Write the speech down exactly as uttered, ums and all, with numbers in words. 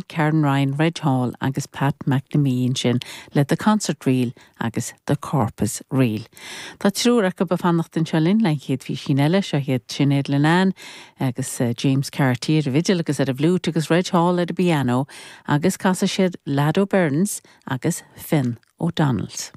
Karen Ryan, Reg Hall agus Pat McNamee ansin le The Concert Reel agus The Corpus Reel. Tá triúr acu ag fanacht anseo linn le chéad fíisín eile seo hiad Sinéad Linnane agus uh, James Cartier ar an bhfidil agus ar an bhfliúit agus Reg Hall ar an bpianó agus casfaidh siad Lado Burns agus Finn O'Donnell's.